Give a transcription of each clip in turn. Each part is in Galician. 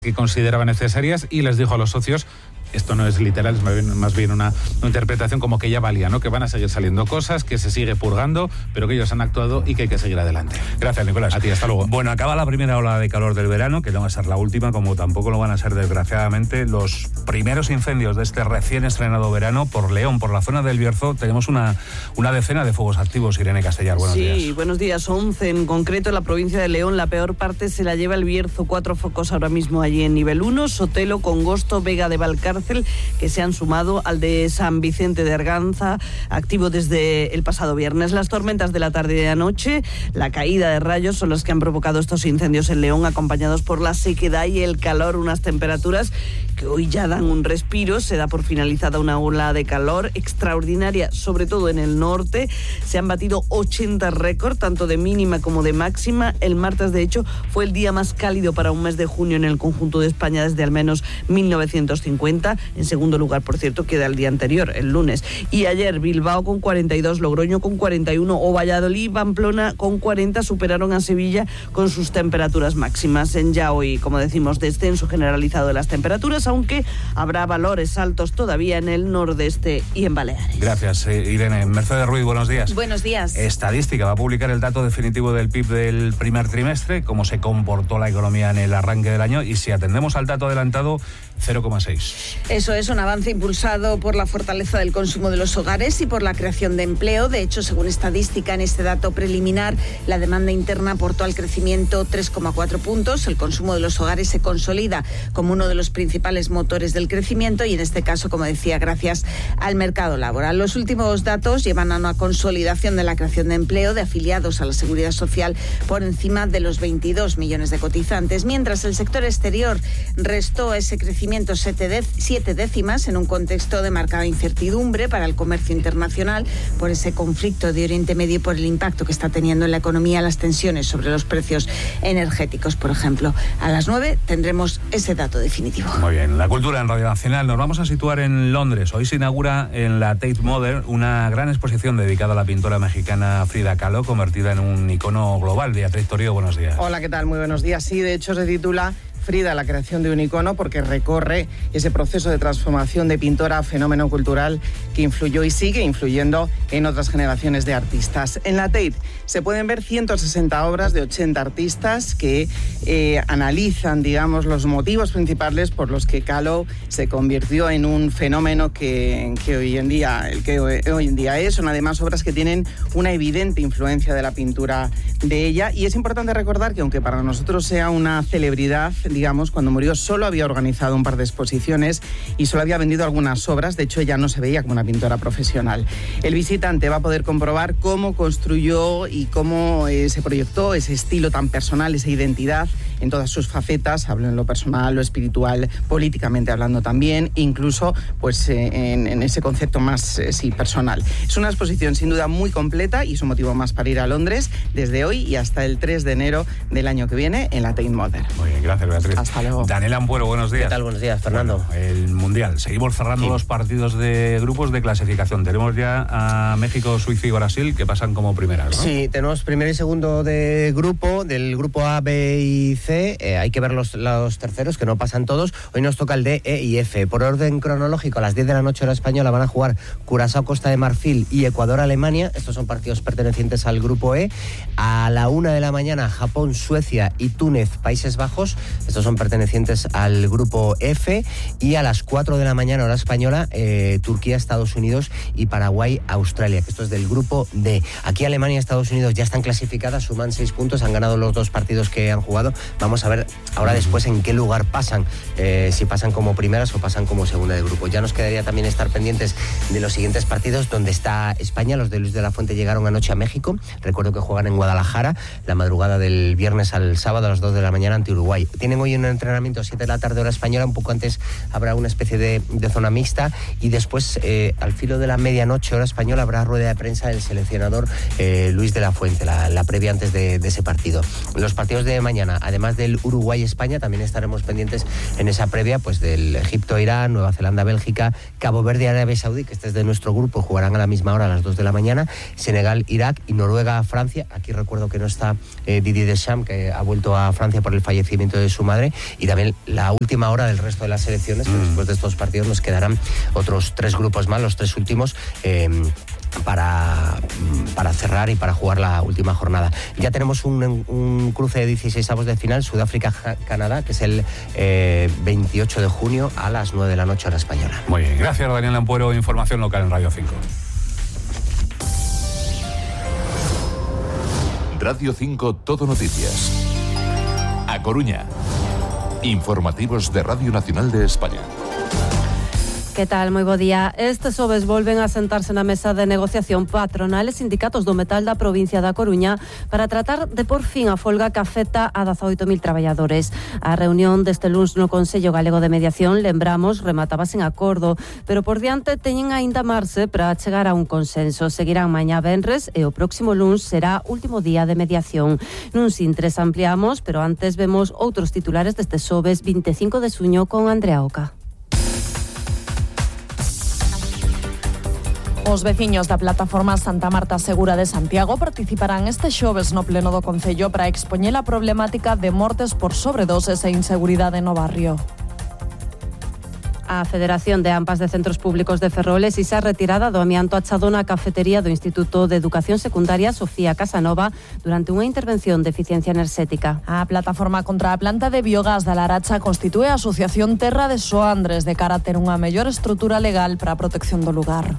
que consideraba necesarias y les dijo a los socios, esto no es literal, es más bien una interpretación como que ya valía, ¿no? Que van a seguir saliendo cosas, que se sigue purgando, pero que ellos han actuado y que hay que seguir adelante. Gracias, Nicolás. A ti, hasta luego. Bueno, acaba la primera ola de calor del verano, que no va a ser la última, como tampoco lo van a ser, desgraciadamente, los primeros incendios de este recién estrenado verano por León, por la zona del Bierzo. Tenemos una decena de fuegos activos. Irene Castellar, buenos días. Sí, buenos días. 11 en concreto en la provincia de León. La peor parte se la lleva el Bierzo. 4 focos ahora mismo allí en nivel 1. Sotelo, Congosto, Vega de Valcárcel, que se han sumado al de San Vicente de Arganza, activo desde el pasado viernes. Las tormentas de la tarde y de anoche, la caída de rayos, son las que han provocado estos incendios en León, acompañados por la sequedad y el calor, unas temperaturas que hoy ya dan un respiro. Se da por finalizada una ola de calor extraordinaria, sobre todo en el norte. Se han batido 80 récords, tanto de mínima como de máxima. El martes, de hecho, fue el día más cálido para un mes de junio en el conjunto de España desde al menos 1950. En segundo lugar, por cierto, queda el día anterior, el lunes. Y ayer Bilbao con 42, Logroño con 41 o Valladolid y Pamplona con 40 superaron a Sevilla con sus temperaturas máximas. En ya hoy, como decimos, descenso generalizado de las temperaturas, aunque habrá valores altos todavía en el nordeste y en Baleares. Gracias, Irene. Mercedes Ruiz, buenos días. Buenos días. Estadística va a publicar el dato definitivo del PIB del primer trimestre, cómo se comportó la economía en el arranque del año, y si atendemos al dato adelantado, 0,6. Eso es un avance impulsado por la fortaleza del consumo de los hogares y por la creación de empleo. De hecho, según estadística, en este dato preliminar, la demanda interna aportó al crecimiento 3,4 puntos. El consumo de los hogares se consolida como uno de los principales motores del crecimiento y, en este caso, como decía, gracias al mercado laboral. Los últimos datos llevan a una consolidación de la creación de empleo de afiliados a la Seguridad Social por encima de los 22 millones de cotizantes, mientras el sector exterior restó ese crecimiento 7 décimas en un contexto de marcada incertidumbre para el comercio internacional por ese conflicto de Oriente Medio y por el impacto que está teniendo en la economía las tensiones sobre los precios energéticos, por ejemplo. A las 9 tendremos ese dato definitivo. Muy bien, la cultura en Radio Nacional. Nos vamos a situar en Londres. Hoy se inaugura en la Tate Modern una gran exposición dedicada a la pintora mexicana Frida Kahlo, convertida en un icono global. Beatriz Torío, buenos días. Hola, ¿qué tal? Muy buenos días. Sí, de hecho se titula Frida, la creación de un icono, porque recorre ese proceso de transformación de pintora a fenómeno cultural que influyó y sigue influyendo en otras generaciones de artistas. En la Tate se pueden ver 160 obras de 80 artistas que analizan, digamos, los motivos principales por los que Kahlo se convirtió en un fenómeno que hoy en día es. Son además obras que tienen una evidente influencia de la pintura de ella, y es importante recordar que, aunque para nosotros sea una celebridad, digamos, cuando murió solo había organizado un par de exposiciones y solo había vendido algunas obras. De hecho, ella no se veía como una pintora profesional. El visitante va a poder comprobar cómo construyó y cómo se proyectó ese estilo tan personal, esa identidad en todas sus facetas. Hablo en lo personal, lo espiritual, políticamente hablando también, incluso pues en ese concepto más personal. Es una exposición sin duda muy completa y es un motivo más para ir a Londres desde hoy y hasta el 3 de enero del año que viene en la Tate Modern. Muy bien, gracias, Beatriz. Hasta luego. Daniel Ampuero, buenos días. ¿Qué tal? Buenos días, Fernando. Bueno, el Mundial. Seguimos cerrando los partidos de grupos de clasificación. Tenemos ya a México, Suiza y Brasil, que pasan como primeras, ¿no? Sí, tenemos primero y segundo de grupo, del grupo A, B y C. Hay que ver los terceros, que no pasan todos. Hoy nos toca el D, E y F. Por orden cronológico, a las 10 de la noche hora española van a jugar Curazao, Costa de Marfil y Ecuador, Alemania. Estos son partidos pertenecientes al grupo E. A la 1 de la mañana, Japón, Suecia y Túnez, Países Bajos. Estos son pertenecientes al grupo F. Y a las 4 de la mañana, hora española, Turquía, Estados Unidos y Paraguay, Australia, que esto es del grupo D. Aquí Alemania y Estados Unidos ya están clasificadas, suman 6 puntos, han ganado los 2 partidos que han jugado. Vamos a ver ahora después en qué lugar pasan, si pasan como primeras o pasan como segunda de grupo. Ya nos quedaría también estar pendientes de los siguientes partidos, donde está España. Los de Luis de la Fuente llegaron anoche a México. Recuerdo que juegan en Guadalajara la madrugada del viernes al sábado a las 2 de la mañana ante Uruguay. Tienen hoy un entrenamiento a 7 de la tarde hora española, un poco antes habrá una especie de zona mixta, y después al filo de la medianoche hora española habrá rueda de prensa del seleccionador Luis de la Fuente, la previa antes de ese partido. Los partidos de mañana, además además del Uruguay-España, también estaremos pendientes en esa previa pues del Egipto-Irán, Nueva Zelanda-Bélgica, Cabo Verde-Arabia Saudí, que este es de nuestro grupo, jugarán a la misma hora, a las 2 de la mañana, Senegal-Irak y Noruega-Francia. Aquí recuerdo que no está Didier Deschamps, que ha vuelto a Francia por el fallecimiento de su madre, y también la última hora del resto de las selecciones, que después de estos partidos nos quedarán otros 3 grupos más, los 3 últimos, para cerrar y para jugar la última jornada. Ya tenemos un cruce de 16avos de final, Sudáfrica-Canadá, que es el 28 de junio a las 9 de la noche hora española. Muy bien, gracias Daniel Ampuero, información local en Radio 5. Radio 5 Todo Noticias. A Coruña. Informativos de Radio Nacional de España. Que tal? Moi bo día. Este xoves volven a sentarse na mesa de negociación patronal e sindicatos do metal da provincia da Coruña para tratar de por fin a folga que afecta a 18.000 traballadores. A reunión deste luns no Consello Galego de Mediación, lembramos, remataba sen acordo, pero por diante teñen aínda marxe para chegar a un consenso. Seguirán mañá venres e o próximo luns será último día de mediación. Nun sintres ampliamos, pero antes vemos outros titulares deste xoves 25 de xuño con Andrea Oca. Os veciños da plataforma Santa Marta Segura de Santiago participarán este xoves no pleno do Concello para expoñer a problemática de mortes por sobredoses e inseguridade no barrio. A Federación de AMPAs de Centros Públicos de Ferrol exixe a retirada do amianto achado na cafetería do Instituto de Educación Secundaria Sofía Casanova durante unha intervención de eficiencia enerxética. A plataforma contra a planta de biogás da Laracha constitúe a Asociación Terra de Soandres de cara a ter unha mellor estrutura legal para a protección do lugar.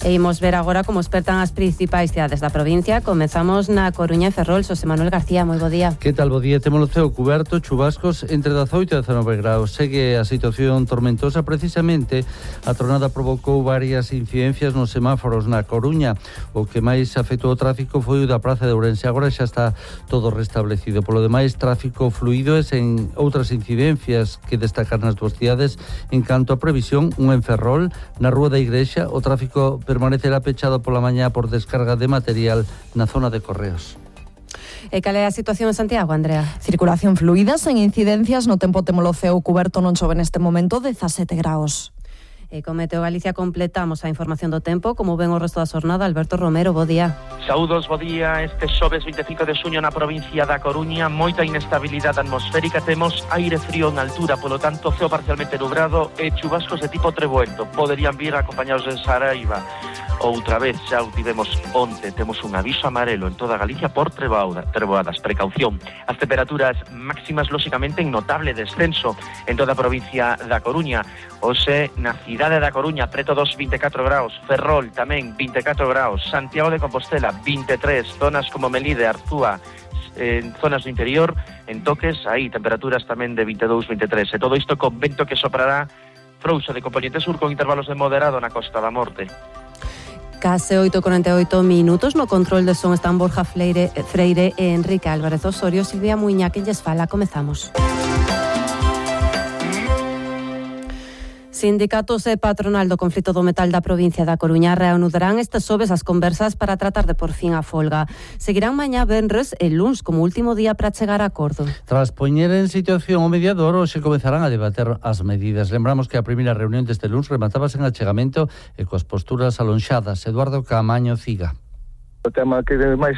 E imos ver agora como espertan as principais cidades da provincia. Comezamos na Coruña e Ferrol. Xosé Manuel García, moi bo día. Que tal, bo día? Temos o ceo cuberto, chubascos entre 18 e 19 graus. Segue a situación tormentosa. Precisamente, a tronada provocou varias incidencias nos semáforos na Coruña. O que máis afectou o tráfico foi o da Praza de Ourense. Agora xa está todo restablecido. Polo demais, tráfico fluido e sen outras incidencias que destacar nas dúas cidades. En canto a previsión, un en Ferrol, na Rúa da Igrexa, o tráfico permanecerá pechado pola mañá por descarga de material na zona de Correos. E cal é a situación en Santiago, Andrea? Circulación fluida, sen incidencias, no tempo temos o ceo cuberto, non chove neste momento, 17 graus. E con Meteo Galicia completamos a información do tempo. Como ven o resto da xornada, Alberto Romero, bo día. Saúdos, bo día. Este xoves 25 de xuño na provincia da Coruña, moita inestabilidade atmosférica, temos aire frío en altura, polo tanto ceo parcialmente nublado e chubascos de tipo trebuento. Poderían vir acompañados de Saraiva. Outra vez, xa o tivemos onte, temos un aviso amarelo en toda Galicia por treboadas. Precaución. As temperaturas máximas, lóxicamente, en notable descenso en toda a provincia da Coruña. Hoxe, na cidade da Coruña, preto dos 24 graus, Ferrol tamén 24 graus, Santiago de Compostela 23, zonas como Melide, Arzúa, en zonas do interior, en Toques, aí temperaturas tamén de 22, 23. E todo isto con vento que soprará frouxo de componente sur con intervalos de moderado na Costa da Morte. Case 8:48 minutos. No control de son están Borja Freire e Enrique Álvarez Osorio. Silvia Muiña, que lles fala. Comezamos. Sindicatos e patronal do conflito do metal da provincia da Coruña reanudarán este xoves as conversas para tratar de por fin a folga. Seguirán mañá venres e luns como último día para chegar a acordo. Tras poñer en situación o mediador, hoxe comezarán a debater as medidas. Lembramos que a primeira reunión deste luns rematábase en achegamento e coas posturas alonxadas. Eduardo Camaño Ciga. O tema que máis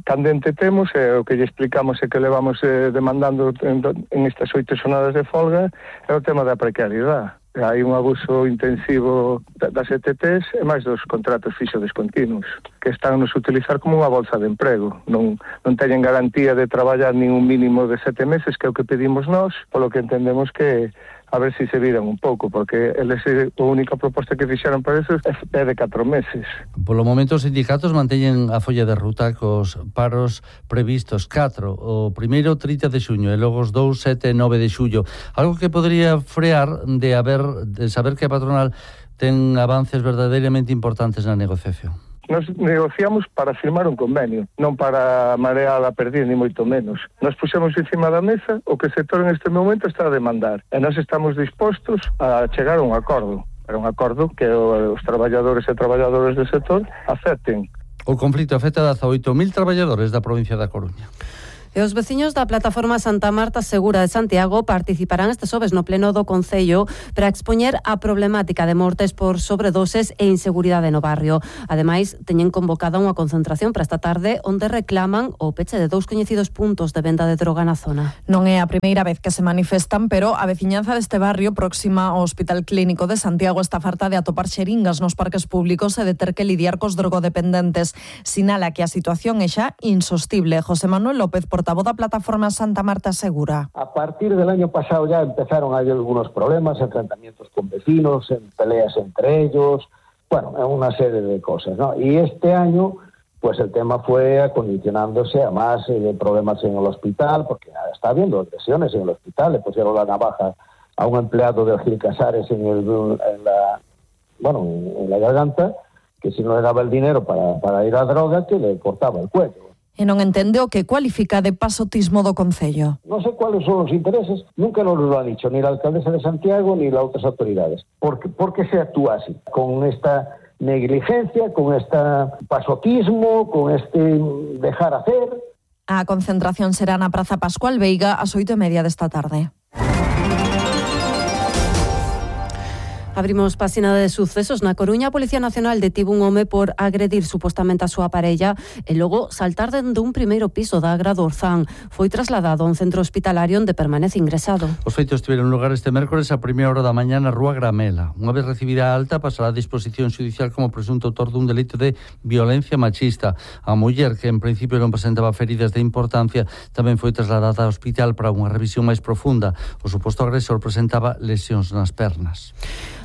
candente temos é o que lle explicamos e que levamos demandando en estas 8 xornadas de folga é o tema da precariedade. Hai un abuso intensivo das ETTs e máis dos contratos fixos descontinuos que están nos utilizar como unha bolsa de emprego. Non teñen garantía de traballar nin un mínimo de 7 meses, que é o que pedimos nós, polo que entendemos que a ver se viran un pouco, porque eles a única proposta que fixeron para eso é de 4 meses. Polo momento os sindicatos manteñen a folla de ruta cos paros previstos 4, o primeiro 30 de xuño e logo os 2, 7 e 9 de xullo. Algo que podría frear de saber que a patronal ten avances verdadeiramente importantes na negociación. Nos negociamos para firmar un convenio, non para marear a perder, ni moito menos. Nos puxemos encima da mesa o que o sector en este momento está a demandar. E nós estamos dispostos a chegar a un acordo. Pero un acordo que os traballadores e traballadoras do sector acepten. O conflito afecta a 18.000 traballadores da provincia da Coruña. E os veciños da plataforma Santa Marta Segura de Santiago participarán este xoves no pleno do Concello para expoñer a problemática de mortes por sobredoses e inseguridade no barrio. Ademais, teñen convocada unha concentración para esta tarde onde reclaman o peche de 2 coñecidos puntos de venda de droga na zona. Non é a primeira vez que se manifestan, pero a veciñanza deste barrio próxima ao Hospital Clínico de Santiago está farta de atopar xeringas nos parques públicos e de ter que lidiar cos drogodependentes. Sinala que a situación é xa insostible. José Manuel López, portavoz da plataforma Santa Marta Segura. A partir del año pasado ya empezaron a haber algunos problemas, enfrentamientos con vecinos, en peleas entre ellos, bueno, una serie de cosas, ¿no? Y este año, pues el tema fue acondicionándose a más problemas en el hospital, porque está habiendo agresiones en el hospital, le pusieron la navaja a un empleado de Gil Casares en la garganta, que si no le daba el dinero para ir a droga, que le cortaba el cuello. E non entende o que cualifica de pasotismo do Concello. No sé cuáles son los intereses, nunca nos lo ha dicho ni la alcaldesa de Santiago ni las otras autoridades. ¿Por qué se actúa así? Con esta negligencia, con este pasotismo, con este dejar hacer. A concentración será na Praza Pascual Veiga ás 8:30 desta tarde. Abrimos páxina de sucesos. Na Coruña, a Policía Nacional detivo un home por agredir supostamente a súa parella e logo saltar dende un primeiro piso da Agra do Orzán. Foi trasladado a un centro hospitalario onde permanece ingresado. Os feitos tiveron lugar este mércores a 1:00 da mañá na Rúa Gramela. Unha vez recibida a alta, pasará a disposición xudicial como presunto autor dun delito de violencia machista. A muller, que en principio non presentaba feridas de importancia, tamén foi trasladada ao hospital para unha revisión máis profunda. O suposto agresor presentaba lesións nas pernas.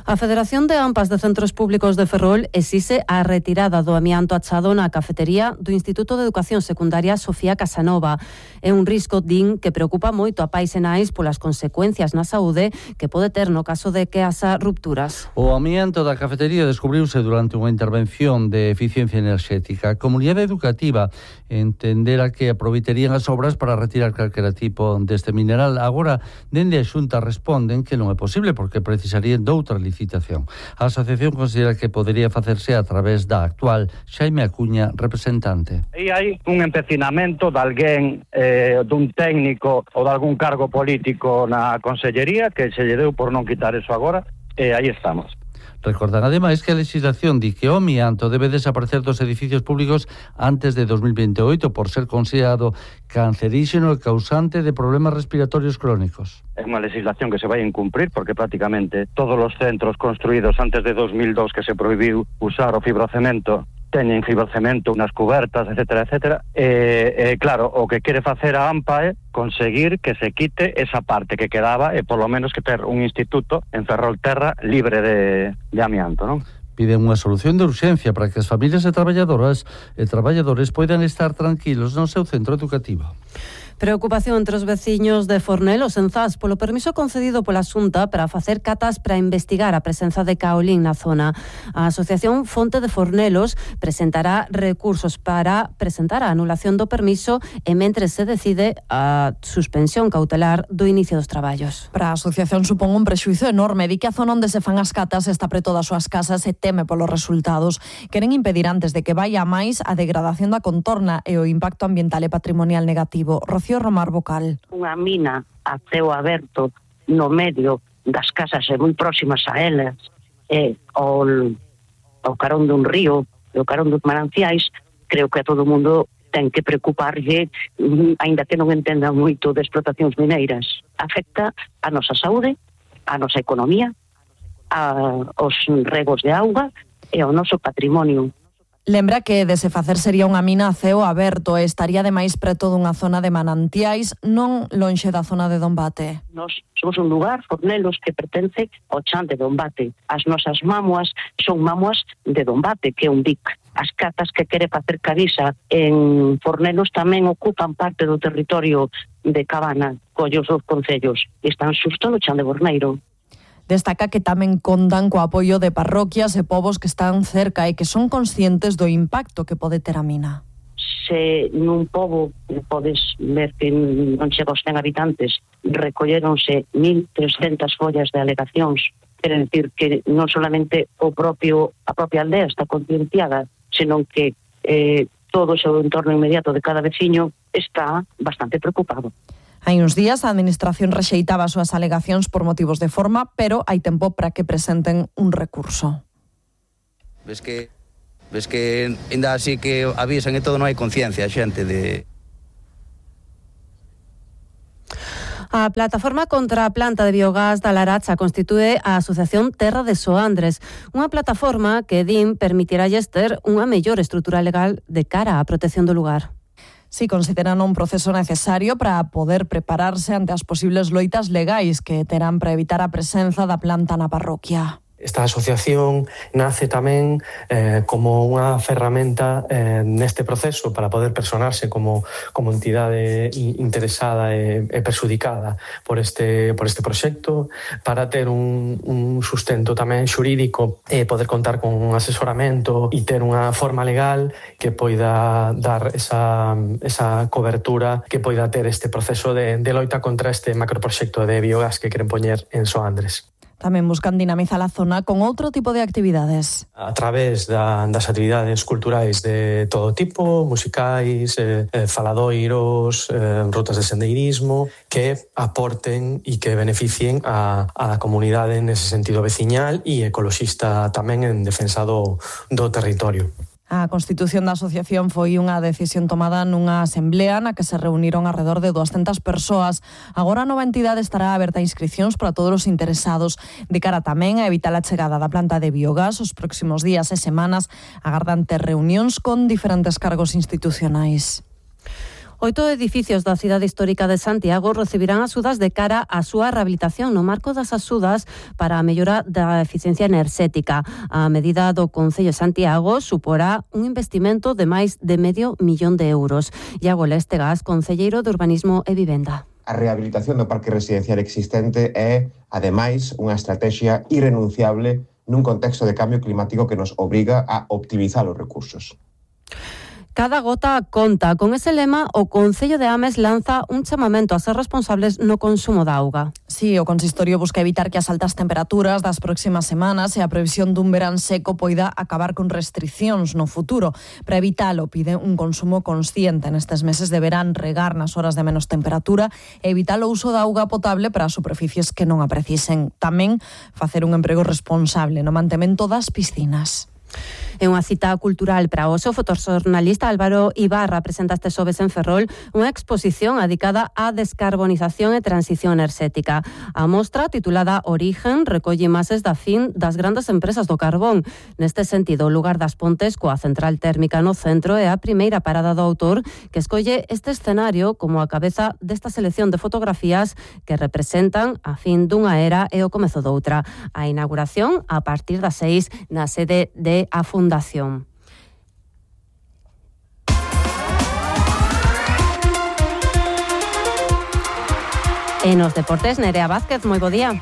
A Federación de AMPAs de Centros Públicos de Ferrol exixe a retirada do amianto achado na cafetería do Instituto de Educación Secundaria Sofía Casanova. É un risco, din, que preocupa moito a pais e nais polas consecuencias na saúde que pode ter no caso de que haxa rupturas. O amianto da cafetería descubriuse durante unha intervención de eficiencia enerxética. A comunidade educativa entendera que aproveitarían as obras para retirar calquera tipo deste mineral. Agora, dende a Xunta responden que non é posible porque precisarían doutra licitación. A asociación considera que podería facerse a través da actual Xaime Acuña, representante. E hai un empecinamento de alguén, dun técnico ou de algún cargo político na Consellería que se lle deu por non quitar eso agora, e aí estamos. Recordan ademais que a legislación di que o amianto debe desaparecer dos edificios públicos antes de 2028 por ser considerado canceríxeno e causante de problemas respiratorios crónicos. É unha legislación que se vai incumprir porque prácticamente todos os centros construídos antes de 2002 que se prohibiu usar o fibrocemento teñen fibrocemento nas cubertas, etcétera, etcétera. Claro, o que quere facer a AMPA é conseguir que se quite esa parte que quedaba e polo menos que ter un instituto en Ferrolterra libre de amianto, non? Piden unha solución de urxencia para que as familias e traballadoras e traballadores poidan estar tranquilos no seu centro educativo. Preocupación entre os veciños de Fornelos en Zas polo permiso concedido pola Xunta para facer catas para investigar a presenza de caolín na zona. A Asociación Fonte de Fornelos presentará recursos para presentar a anulación do permiso e mentres se decide a suspensión cautelar do inicio dos traballos. Para a asociación supón un prexuízo enorme. Di que a zona onde se fan as catas está preto das súas casas e teme polos resultados. Queren impedir antes de que vaya máis a degradación da contorna e o impacto ambiental e patrimonial negativo. Romar Vocal. Unha mina a ceo aberto no medio das casas e moi próximas a elas e ao carón dun río e ao carón dos mananciais, creo que a todo o mundo ten que preocuparlle, aínda que non entendan moito de explotacións mineiras. Afecta a nosa saúde, a nosa economía, aos regos de auga e ao noso patrimonio. Lembra que de se facer sería unha mina a ceo aberto e estaría ademais preto dunha zona de manantiais, non lonxe da zona de Dombate. Nos somos un lugar, Fornelos, que pertence ao chan de Dombate. As nosas mamuas son mamuas de Dombate, que é un dic. As catas que quere facer Cavisa en Fornelos tamén ocupan parte do territorio de Cabana, collos dos concellos. Están xusto no chan de Borneiro. Destaca que tamén contan co apoio de parroquias e povos que están cerca e que son conscientes do impacto que pode ter a mina. Se nun pobo podes ver que non chega aos 100 habitantes, recolleronse 1.300 follas de alegacións. Quere decir que non solamente a propia aldea está concienciada, senón que todo o seu entorno inmediato de cada veciño está bastante preocupado. Hai uns días a Administración rexeitaba as súas alegacións por motivos de forma, pero hai tempo para que presenten un recurso. Ves que ainda así que avisan e todo, non hai conciencia a xente de... A plataforma contra a planta de biogás da Laracha constitúe a Asociación Terra de Soandres, unha plataforma que din permitiralles ter unha mellor estrutura legal de cara á protección do lugar. Si consideran un proceso necesario para poder prepararse ante as posibles loitas legais que terán para evitar a presenza da planta na parroquia. Esta asociación nace tamén como unha ferramenta neste proceso para poder personarse como entidade interesada e perxudicada por este proxecto, para ter un sustento tamén xurídico e poder contar con un asesoramento e ter unha forma legal que poida dar esa cobertura que poida ter este proceso de loita contra este macroproxecto de biogás que queren poñer en Soandres. Tamén buscan dinamizar a zona con outro tipo de actividades. A través das actividades culturais de todo tipo, musicais, faladoiros, rutas de sendeirismo, que aporten e que beneficien a comunidade nese sentido veciñal e ecoloxista tamén en defensa do territorio. A constitución da asociación foi unha decisión tomada nunha asamblea na que se reuniron alrededor de 200 persoas. Agora a nova entidade estará aberta a inscricións para todos os interesados. De cara tamén a evitar a chegada da planta de biogás, os próximos días e semanas agardan ter reunións con diferentes cargos institucionais. 8 edificios da cidade histórica de Santiago recibirán axudas de cara á súa rehabilitación no marco das axudas para a mellora da eficiencia enerxética. A medida do Concello de Santiago suporá un investimento de máis de €500 000. Iago Lestegas, concelleiro de Urbanismo e Vivenda. A rehabilitación do parque residencial existente é, ademais, unha estrategia irrenunciable nun contexto de cambio climático que nos obriga a optimizar os recursos. Cada gota conta. Con ese lema, o Concello de Ames lanza un chamamento a ser responsables no consumo da auga. Sí, o consistorio busca evitar que as altas temperaturas das próximas semanas e a previsión dun verán seco poida acabar con restriccións no futuro. Para evitalo, pide un consumo consciente nestes meses de verán, regar nas horas de menos temperatura e evitar o uso da auga potable para superficies que non a precisen. Tamén facer un emprego responsable no mantemento das piscinas. É unha cita cultural para hoxe. O fotoxornalista Álvaro Ibarra presenta este xoves en Ferrol unha exposición dedicada á descarbonización e transición enerxética. A mostra, titulada Origen, recolle imaxes da fin das grandes empresas do carbón. Neste sentido, o lugar das Pontes, coa central térmica no centro, é a primeira parada do autor que escolle este escenario como a cabeza desta selección de fotografías que representan a fin dunha era e o comezo doutra. A inauguración a partir das 6 na sede de a Fundación. En os deportes, Nerea Vázquez, moi bo día.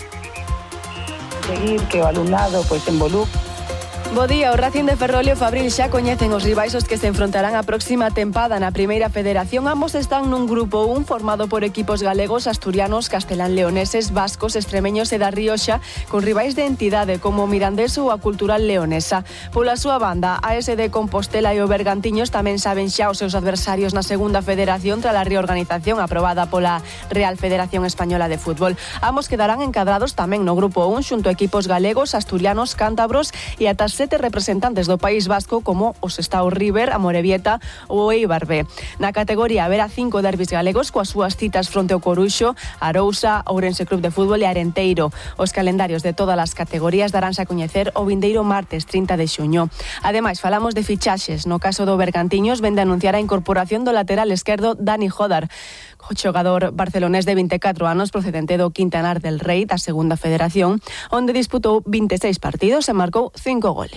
Seguir que o alumnado envolúe. Bo día, o Racing de Ferrol e o Fabril xa coñecen os rivais os que se enfrontarán a próxima tempada na Primeira Federación. Ambos están nun grupo 1 formado por equipos galegos, asturianos, castelán-leoneses, vascos, extremeños e da Rioxa, con rivais de entidade como Mirandés ou a Cultural Leonesa. Pola súa banda, a AS de Compostela e o Bergantiños tamén saben xa os seus adversarios na Segunda Federación tras a reorganización aprobada pola Real Federación Española de Fútbol. Ambos quedarán encadrados tamén no grupo 1 xunto a equipos galegos, asturianos, cántabros e ata 7 representantes do País Vasco como os está o River, a Morevieta ou o Eibar B. Na categoría haberá 5 derbis galegos coas súas citas fronte ao Coruxo, Arousa, Ourense Club de Fútbol e Arenteiro. Os calendarios de todas as categorías daránse a coñecer o vindeiro martes 30 de xuño. Ademais, falamos de fichaxes. No caso do Bergantiños, vende anunciar a incorporación do lateral esquerdo Dani Jodar, o xogador barcelonés de 24 anos procedente do Quintanar del Rei da Segunda Federación, onde disputou 26 partidos e marcou 5 goles.